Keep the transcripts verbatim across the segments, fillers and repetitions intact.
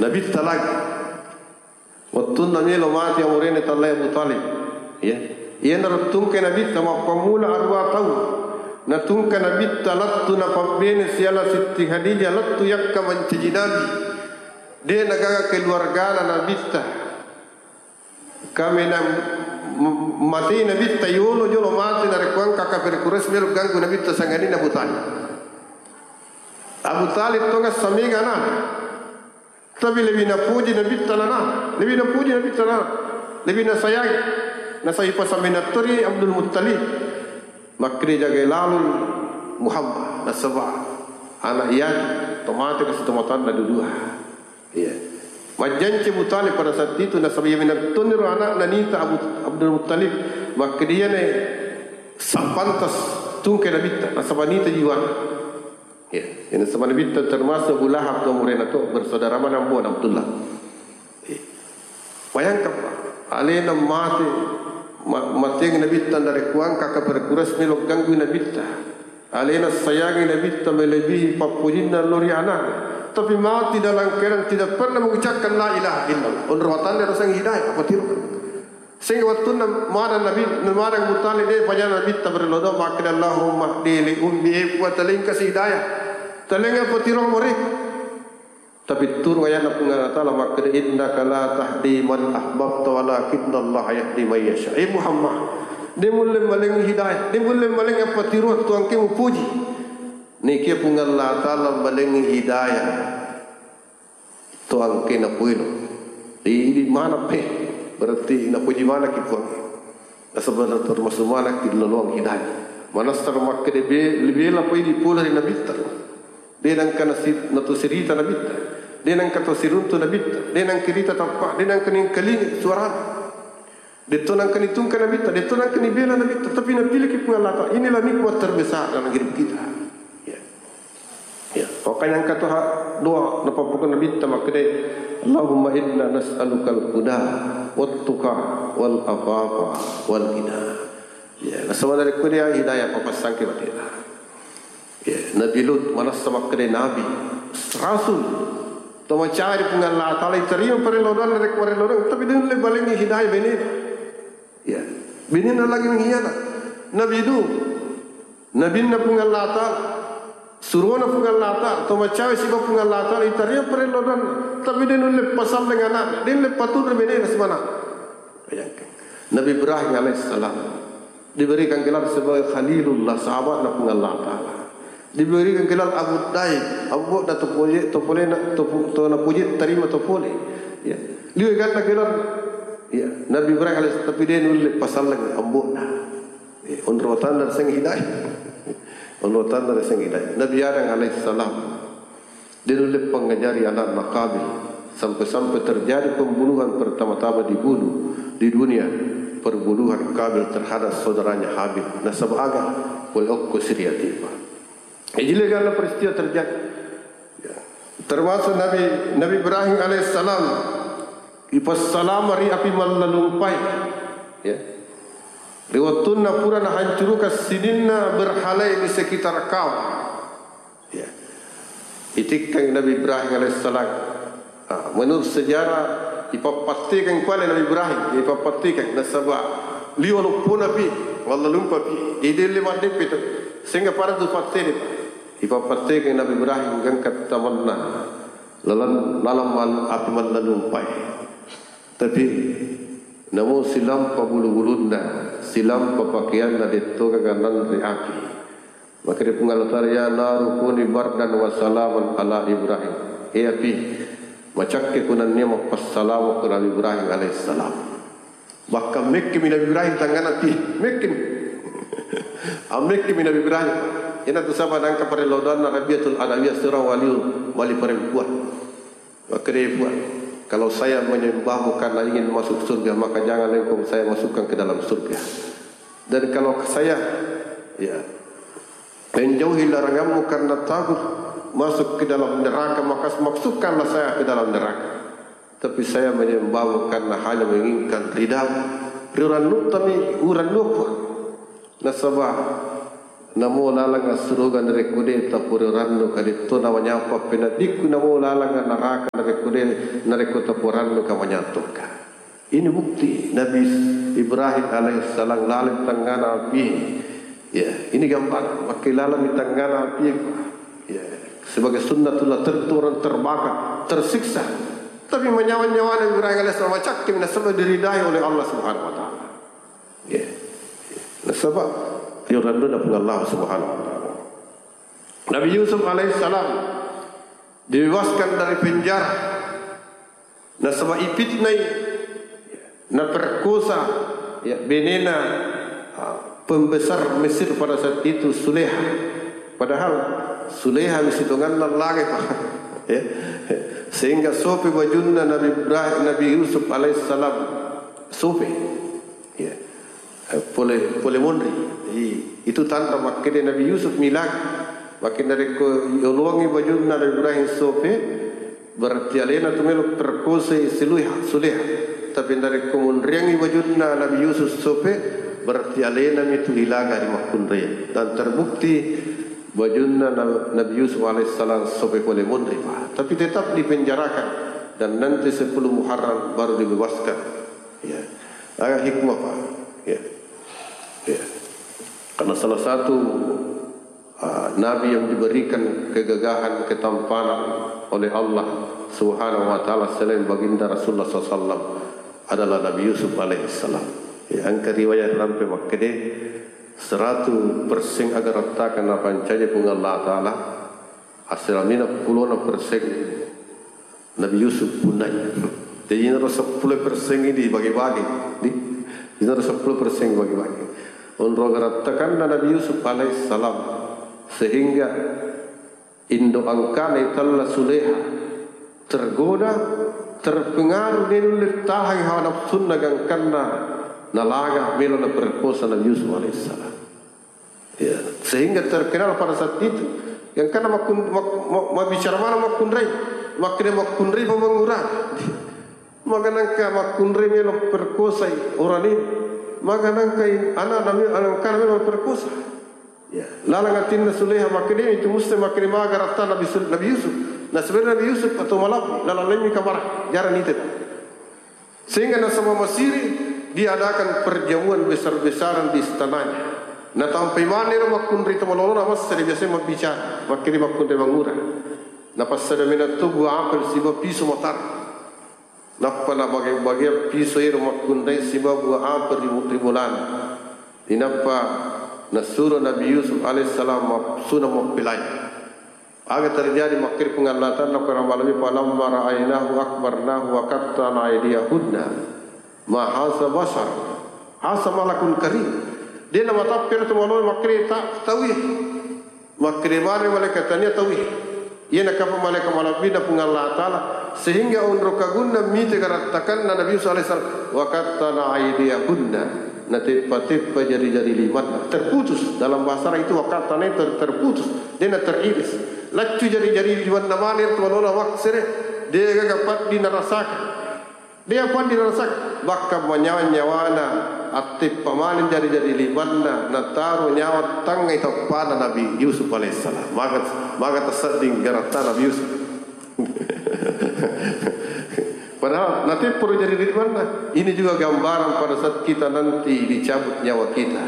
Nabitta lagi. Wettunna melo mati amurene tallai Abu Thalib. Ya. Iyanaro tungke Nabitta mappammula aruwa taung. Natungke Nabitta lettu napabbene siala Sitti Khadijah lettu yakka mancaji nabi. De nagaga keluargana Nabitta. Kaminang m-, matei Nabitta yolo jolo mate narekko engka kafir Quraisy melo ganggu Nabitta sangadinna Abu Thalib. Abu Thalib tonga samega anana. Tapi lebih napuji Nabitta nana, lebih napuji Nabitta nana, lebih nasayangi. Nasai pasaminattori Abdul Muttalib. Makkeda jagai lalui Muhammad nasaba anak iyatu tomate kasi tomatanna dudua. Iya. Majjanci Abu Thalib pada saat itu nasaba iya minattoniro anak nanita Abu Abdul Muttalib. Makkeda iyane sappantas tungke Nabitta nasaba nita jiwana. Ya, ini sama Nabitta termasuk Abu Lahab tu murena tu bersaudara mana Abu Abdullah. Ya. Bayangkan Pak, alena mate ma- mateng Nabitta dari kuang kaka perkuras melo ganggu Nabitta. Alena sayangi Nabitta melebihi pappujinna lori anak. Tapi mati dalam keadaan tidak pernah mengucapkan la ilaha illallah. Onro watanna rasang hidayah apa tiru? Sehingga wattunna maneng Nabi, maneng Abu Thalib de pajana Nabitta berlodong makkeda Allahumma hdi li ummi, e Puang talengka si hidayah. Talenga patirong muri. Tapi turun ayatna Puang Allah Taala makkeda innaka la tahdi man ahbabta walakinna Allah yahdi man yasha. E Muhammad, de mulle malengi hidayah, de mulle malengi apa tiru tuangke mupuji. Nikia Puang Allah Taala malengi hidayah. Tuangke napuilo. Idi mana pe. Berarti napuji mana ki Puang. Nasaba termasuk mana ki loloang hidayah. Manassa makkeda be lebih apa idi pula di Nabitta. De nangka nasi- natu sirita Nabitta. De nangka to siruntu Nabitta. De nangka rita tappa. De nangka ningkalingi suara. Detto nangka nitungka Nabitta, detto nangka nibela Nabitta, tapi napilihki Puang Allah Taala. Inilah nikmat terbesar dalam hidup kita. Ya. Ya. Makanya angka tuha doa napappokon Nabitta makkeda, Allahumma inna nas'alukal huda wat tuqa wal afafa wal ghina. Ya, nasaba dari kudia hidayah papassangke batena. Ya, Nabi Lut manassa makkeda nabi, rasul. To macari Puang Allah Taala itarima parello doanna rek parello doanna, tapi de nulle balengi hidayah benena. Ya. Benena lagi mengkhianat. Nabi Nuh, nabinna Puang Allah Taala, surona Puang Allah Taala, to macari siba Puang Allah Taala itarima parello doanna, tapi de nulle pasalleng anakna, de nulle paturri benena semana. Bayangkan. Nabi Ibrahim alaihissalam diberikan gelar sebagai Khalilullah, sahabatna Puang Allah Taala. Diberikan gelar Abu Dai, Abu da topoje, topolena, topo, to napoje tarima topole. Ya. Liwe ganna gelar. Ya. Nabi Ibrahim alaihissalam tapi de nulle pasalleng ambo'na. Ya. Onro tanda seng hidayah. Onro tanda seng hidayah. Nabi Adam alaihissalam. De nulle pangajari anakna Qabil, sampai-sampai terjadi pembunuhan pertama-tama dibunuh di dunia, perbunuhan Qabil terhadap saudaranya Habil. Nasaba aga? Pole okko siriatipa. Jadi legalna peristiwa terjadi. Ya. Termasuk Nabi Nabi Ibrahim alaihissalam ipassalama ri api mallalumpai. Ya. Ri wettunna pura nahancurukan sininna berhala di sekitar Ka'bah. Ya. Itikkangi Nabi Ibrahim alaihissalam. Ah, menurut sejarah, ipappattikang pale Nabi Ibrahim, ipappattikang nasaba liwa luppuna pi, walla lumpa pi, idelle maddeppe tu, sehingga pada tu pattede. Ipappattikang Nabi Ibrahim gangka tamanna lalang, lalang mal-, api mallalumpai. Tapi namo silampa bulu-bulunna, silampa pakeanna, dettoga gananre api. Makkeda Puang Allah Taala, "Ya naru kuni bardan wa salaman ala Ibrahim." Eh api, macakke kunannia mappassalama ku Nabi Ibrahim alaihissalam. Bahkan mekkemi Nabi Ibrahim tanggana api, mekkemi. Ammekkemi Nabi Ibrahim. Ina tu saba nangka parello doanna Rabiatul Adawiyah seorang wali, wali perempuan. Makkeda, "Puang, kalau saya menyembahmu karena ingin masuk surga, maka jangan engkau saya masukkan ke dalam surga. Dan kalau saya, ya, menjauhi laranganmu karena takut masuk ke dalam neraka, maka masukkanlah saya ke dalam neraka. Tapi saya menyembahmu karena hanya menginginkan ridamu." Riurannuttami, urannu, Puang. Nasaba Namo laleng assuruga narekko de' tapura rannuka, detto nawanyappa penedikku, namo laleng naraka narekko de', narekko tapura rannuka manyatokka. Ini bukti Nabi Ibrahim alaihissalam laleng tengngana api. Ya, ini gambar, makkeda laleng tengngana api. Ya, sebagai sunnatullah, tentu orang terbakar, tersiksa. Tapi manyawa-nyawa Nabi Ibrahim alaihissalam macakkim nasaba diridai oleh Allah Subhanahu wa Ta'ala. Ya. Nasaba, yo randuna Puang Allah Subhanahu wa Ta'ala. Nabi Yusuf alaihissalam dibebaskan dari penjara. Nasaba ipitnai, naperkosa, ya, benena, ah, pembesar Mesir pada saat itu, Suleha. Padahal Suleha misi tonganna laga, Pak. Ya. Sehingga sope bajunna Nabi Ibrahim, Nabi Yusuf alaihissalam. Sope. Ya. Eh, pole, pole monri. Jadi, itu tanda makkeda Nabi Yusuf milaga. Makkeda narekko yoloangngi bajunna Nabi Ibrahim sope, berarti alena tu melo perkosai Suleha, Suleha. Tapi narekko monriangngi bajunna Nabi Yusuf sope, berarti alena mi tu ilaga ri makkunrai. Dan terbukti bajunna Na-, Nabi Yusuf alaihissalam sope pole monri, Pak. Tapi tetap dipenjarakan dan nanti sepuluh Muharram baru dibebaskan. Ya. Aga hikmah, Pak. Ya. Ya. Karena salah satu, ah, nabi yang diberikan kegagahan, ketampanan oleh Allah Subhanahu wa Ta'ala selain Baginda Rasulullah sallallahu alaihi wasallam adalah Nabi Yusuf alaihissalam. Ya, engka riwayat rampe makkeda, seratu persen aga rattaka napancaji Puang Allah Ta'ala, assalamina pulona persen Nabi Yusuf punnai. Jadi, inaro seppulo persen ini dibagi-bagi. Di, inaro seppulo persen dibagi-bagi. Onro garattakanna Nabi Yusuf alaihissalam. Sehingga indo angkana itella Suleha tergoda, terpengaruh, de nulle tahangi hawa nafsunna gangkanna nalaga melo naperkosa Nabi Yusuf alaihissalam. Ya, sehingga terkenal pada saat itu. Yang karena makkun-, mak-, ma-, mabbicara mana makkunrai, makkeda makkunrai pamangura. Maka nangka makkunrai melo perkosai orang ini. Maka nangka in-, anak nami, anak kami melo perkosa. Ya, lalang atinna Suleha makkeda itu musti makkeda maga ratta Nabi Sul-, Nabi Yusuf. Nah, sebenarnya Nabi Yusuf atau malam lalang lainnya kabar jarang itu. Sehingga nasaba masiri diadakan perjamuan besar-besaran di istananya. Natampai maneng ro makkunrai to malolona massari biasa mabbicara, makkiri makkunrai mangura. Napassada mena to buah apel siba piso matar. Nappa nabage-bage piso ero makkunrai siba buah apel ri, ri bolana. Inappa nasuro Nabi Yusuf alaihissalam mapsuna mappelai. Aga terjadi makkiri Puang Allah Ta'ala, Quran malami, "Falamma ra'ainahu akbarnahu wa qatta'na aydiyahunna ma hadza bashar, hadza malakun karim." Dia nama tapir tu malami makkiri ta-, tawi. Makkiri mare malaikat tania tawi. Ia nakapa malaikat malabina Puang Allah Ta'ala sehingga onro kagunna mite garattakanna Nabi Yusuf alaihissalam, "Wa qatta'na aydiyahunna." Nateppa-teppa jari-jari limanna. Terputus. Dalam bahasa Arab itu wa qatta'na ter-, terputus. Dena teriris. Laccu jari-jari limanna mane tu malola maksere. Degaga paddi narasaka. Dia paddi narasaka. Bahkan manyawa-nyawana atteppa mane jari-jari limanna. Nataro nyawa tangngai tappana Nabi Yusuf alaihissalam. Maka, maka tasedding garatta Nabi Yusuf. Padahal nateppa ro jari limanna. Ini juga gambaran pada saat kita nanti dicabut nyawa kita.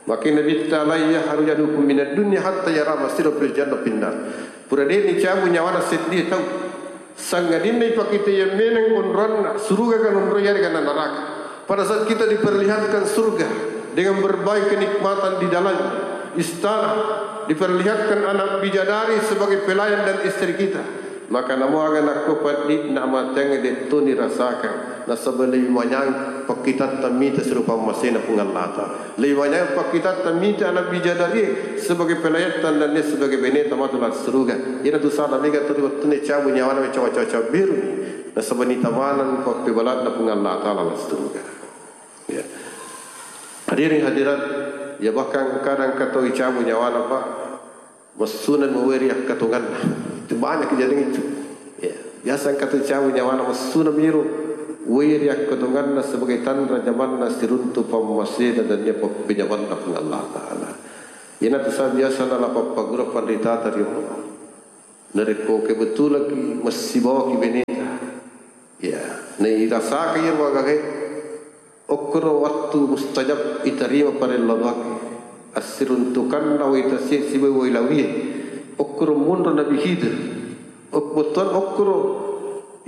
Maka Nabitta, "Lan yakhruja ahadukum minad dunya hatta yara masirahu fil jannah fin nar." Pura de' nicabu nyawana seddie tau. Sangadinna ipakitaiya meneng onronna suruga kan onroi yarega na naraka. Pada saat kita diperlihatkan surga dengan berbagai kenikmatan di dalamnya, istana, diperlihatkan anak bidadari sebagai pelayan dan istri kita, maka namo aga nakko paddi'na amateang de' to nirasakang, nasaba lebih manyang pakkitatta mita serupa masena Puang Allah Ta'ala. Lebih manyang pakkitatta mita anak bidadari sebagai pelayatta dan sebagai beneta matu lassuruga. Iyana tu sana mega tuli wettunna cabu nyawana, cawa-cawa cawa biru. Nasaba nitamanang pappebala'na Puang Allah Ta'ala lassuruga. Ya. Hadirin hadirat, ya bahkan kadang katoi cabu nyawana, Pak. Massuna maweri akkatonganna. Itu banyak kejadian itu. Ya, biasa engka tu cabu nyawana massuna miro weri akkatonganna sebagai tanra jamanna siruntu pammasena dan dia pappejamanna Puang Allah Ta'ala. Iyanatu sa biasa nalapappagura panritata ri Allah. Narekko kebetulan ki messibawaki beneta, ya, nairasaka iyaro agagae, okkoro wattu mustajab itarima parello doae. Assiruntukanna wai tasie sibawa wai lawie, okkoro monro Nabi Khidir. Bettuanna okkoro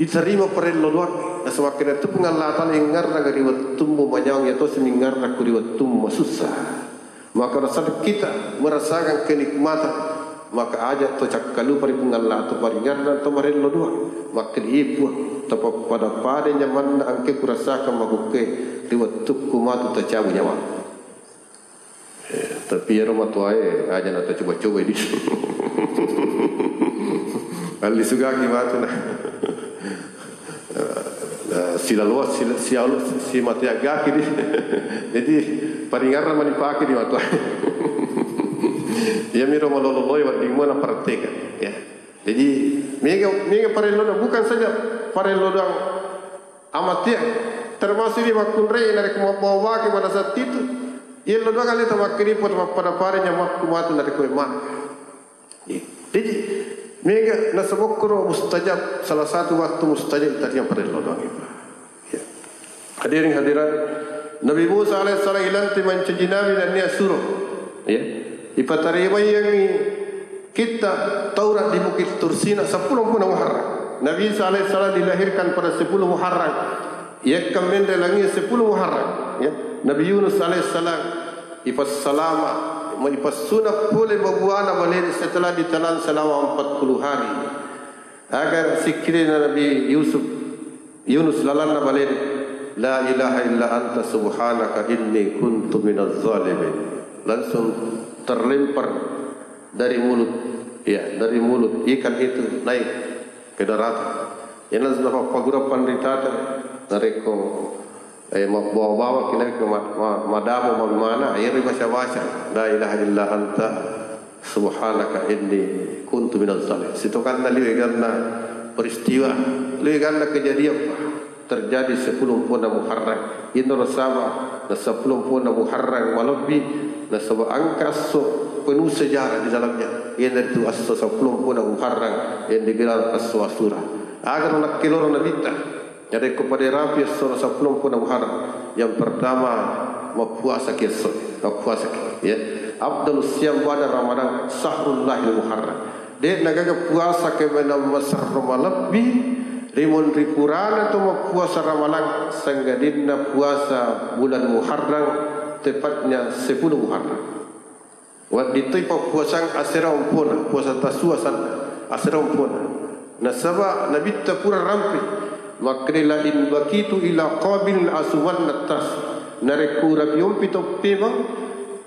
itarima parello doae. Nasaba makkeda tu Puang Allah Taala, ingngarrang ri wettummu manyawang, iya tosi mingngarrang ku ri wettummu masussa. Maka nasaba kita merasakan kenikmatan, maka aja to cakkalupa ri Puang Allah, to paringngarrang, to marello doa. Makkeda, "Iye Puang, tapappada-pada nyamanna engka kurasakang makkukkue ri wettukku matu tacabu nyawa." Eh, tapi iyaro matoae aja natacoba-coba ini. Allisugaki matu na. Nah, silaloa, sila-, sialo-, simateaggaki di. Jadi, paringarang manipake di matoae. Iyamiro malolo-loloe wedding mua napraktekang, ya. Jadi, mega, mega parellona, bukan saja parello doang amateang, termasuk di makkunrai narekko mabbawa-bawaki pada saat itu, yello doang aleta makkeda, "Puang, tapappada-pada nyamakku matu narekko memmana." Jadi, mega nasaba okkoro mustajab, salah satu waktu mustajab itarima parello doang itu. Ya. Hadirin hadirat, Nabi Musa alaihissalam ilanti mancaji nabi nennia suro. Ya. Ipatarimaiyangngi kitta Taurat di Bukit Tursina seppulo mpuna Muharram. Nabi Isa alaihissalam dilahirkan pada sepuluh Muharram. Iyakkang menre langie sepuluh Muharram. Ya. Nabi Yunus alaihissalam ipassalama, ma-, ipassunang pole mabuana balena setelah ditelan selama empat puluh hari. Aga sikkirina Nabi Yusuf, Yunus lalanna balena, "La ilaha illa anta subhanaka inni kuntu minaz zalimin." Langsung terlempar dari mulut, ya, dari mulut ikan itu naik ke daratan. Iyana langsung napappagura panritata, narekko Eh, mabbawa-bawa ki nakke ma-, ma-, madamo mammana, iyaro baca-baca, "La ilaha illa anta subhanaka inni kuntu minaz zalim." Sitonganna liwe ganna peristiwa, liwe ganna kejadian, Pak. Terjadi sepuluh mpona Muharram. Inaro saba na sepuluh mpona Muharram malebbi, nasaba engka esso penuh sejarah di dalamnya. Iyanaritu esso sepuluh mpona Muharram yang digelar esso Asyura. Agaro nakkeloro Nabitta. Narekko pada rapi essona seppulo mpona Muharram, yang pertama, mappuasaki esso, mappuasaki, ya. Afdalus siyam ba'da Ramadan, syahrullahil Muharram. De'na gaga puasa kemenang maserro malebbi, ri monri purana to mappuasa Ramalang, sanggadinna puasa bulan Muharram, tepatnya sepuluh Muharram. Wedding toi pappuasang asera ompona, puasa tasua sanna, asera ompona. Nasaba Nabitta pura rampe, makkeda, "La in baqitu ila qabil la asumanna tas." Narekko urapi ompi to pemang,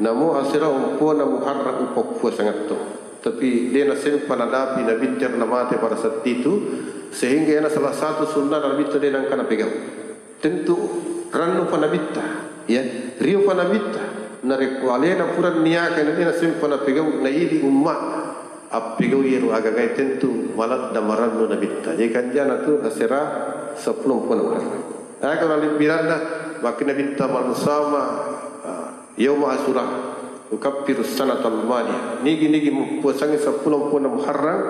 namo asera ompona Muharram upappuasangatto. Tapi de nasempa nadapi Nabitta ero namate pada saat itu, sehingga iyana salah satu sunnah Nabitta de nangka napegau. Tentu rannupa Nabitta, ya, riopa Nabitta. Narekko alena pura niaka, na de nasempa napegau, naidi umma appegau iyaro agagae, tentu maladda marannu Nabitta. Jadi kanjana tu asera seppulo mpona Muharram. Aga nalebbiranna, makkeda Nabitta, "Man sama, ah, yauma Asyura, yukaffiru sanatal madiyah." Nigi-nigi muppuasangi seppulo mpona Muharram,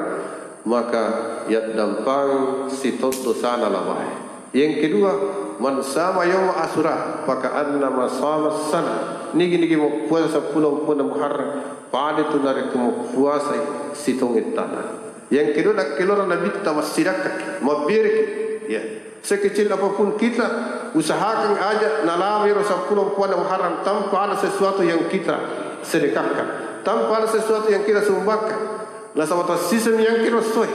maka yaddampang sitaung dosana lawae. Yang kedua, "Man sama yauma Asyura, faka'annama sama sana." Nigi-nigi muppuasa seppulo mpona Muharram, pada tu narekko muppuasai sitaung ettana. Yang kedua, nakkeloro Nabitta massidakka, mabbiriki. Ya. Sekecil apapun kita, usahakan aja nalawero seppulo mpona Muharram tanpa ada sesuatu yang kita sedekahkan, tanpa ada sesuatu yang kita sumbangkan. Nasaba tassiseng yang kiro soe.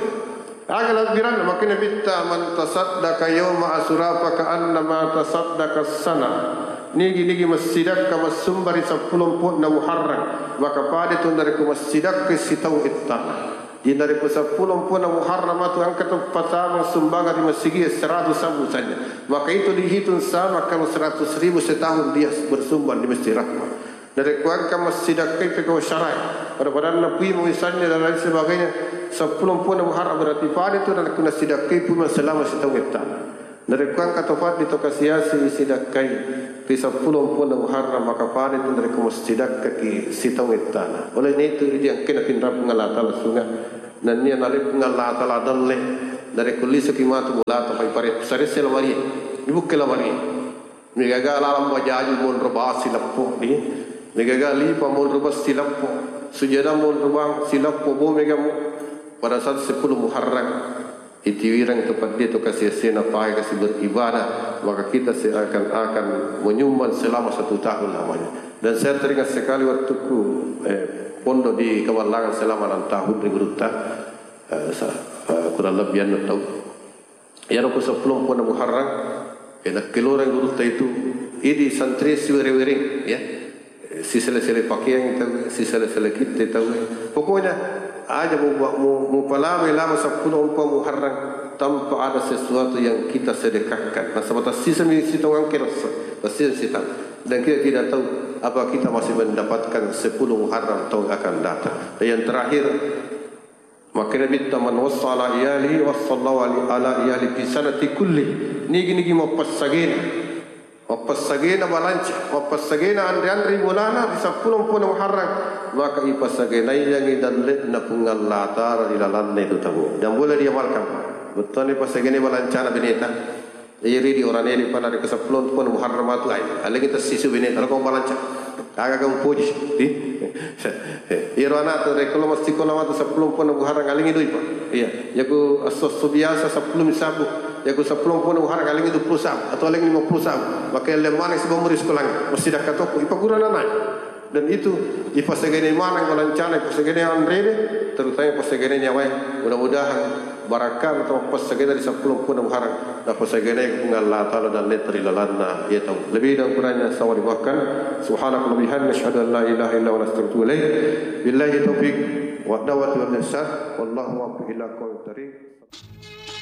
Aga labbiranna, makkeda Nabitta, "Man tasaddaqa yauma Asyura fa ka'annama tasaddaqa sana." Nigi-nigi massidakka massumba ri seppulo mpona Muharram, maka pada tu narekko massidakka sitaung ettana. Jadi narekko seppulo mpona Muharram matu engka to patameng sumbangan ri masigi seratus sabbu saja, maka itu dihitung sama kalau seratus ribu setahun dia bersumbang di Masjid Rahmah. Narekko engka massidakkai pekko syara'i, pada-padanna pui mau isannya dan lain sebagainya, seppulo mpona Muharram berarti pada tu narekko nassidakkai pui selama sitaung ettana. Narekko engka to faddi to kasiasi sidakkai ri seppulo mpona Muharram, maka pada tu narekko massidakkaki sitaung ettana. Oleh itu, idi engkena pinrang Puang Allah Taala sunga, nennia nalai Puang Allah Taala dalle, narekko lisuki matu bolata, pai pare-, saresse lamarie, ibukke lamarie. Megaga lalang bajaju monro bang sileppo, di. Megaga lipa monro bang sileppo, sujada monro bang sileppo, bo megamu. Pada saat seppulo Muharram, itiwireng to peddi to kasiasena pae kasi beribadah, maka kita seakan-akan menyumbang selama satu tahun lamanya. Dan saya teringat sekali waktuku, eh, pondok di Kawallangan selama enam tahun di Gurutta, eh, sa-, eh, kurang lebih anu tahu. Iyaro ko seppulo mpona Muharram, eh, nakkeloreng gurutta itu, idi santri siwere-wereng, ya. Eh, sisele-sele pakeang tau, sisele-sele kitte tau. Pokoknya, aja mu, mu, mupalawai lama seppulo mpo Muharram tanpa ada sesuatu yang kita sedekahkan. Nasaba tassiseng mi sitaung engka rasa, tassiseng sitaung. Dan kita tidak tahu apa kita masih mendapatkan sepuluh Muharram tahun akan datang. Dan yang terakhir, Makkeda Nabitta, "Man wassa ala iyalihi, wassallahu ala, ala iyalihi fi sanati kulli." Nigi-nigi mappessagena, mappessagena balanca, mappessagena anre-anre bolana ri seppulo mpona Muharram, maka ipassagenaiyangi dalle'na Puang Allah Taala ri lalanna itu tau. Dan boleh diamalkan. Bettuanna ipassagenai balancana beneta. Iyaro idi orang ede pada ri ke seppulo mpona Muharram matu ai. Alagi tessisu bene, kalau kau balanca. Aga kau puji. Di? Iyaro anak tu rekko lo mesti kola matu seppulo mpona Muharram, alagi dui, Pak. Iya. Yaku esso-esso biasa seppulo mi sabu. Yaku seppulo mpona Muharram, alagi dua puluh sabu atau alagi lima puluh sabu. Maka lemmana si bombo di sekolah. Mesti dah katoku. Ipa guru anak. Dan itu ipasegene maneng balancana, ipasegene anrede, terutama ipasegene nyawae. Mudah-mudahan barakka atau passegene di seppulo mpona Muharram, napasegene Puang Allah Taala dalle ri lalanna iya tau. Lebih dan kurangnya saya mohon dimaafkan. Subhanakallahumma bihamdika, asyhadu an la ilaha illa anta, astaghfiruka wa atubu ilaik. Billahi taufiq wa da'wati wal ihsan. Wallahu muwaffiq ila aqwamit thariq.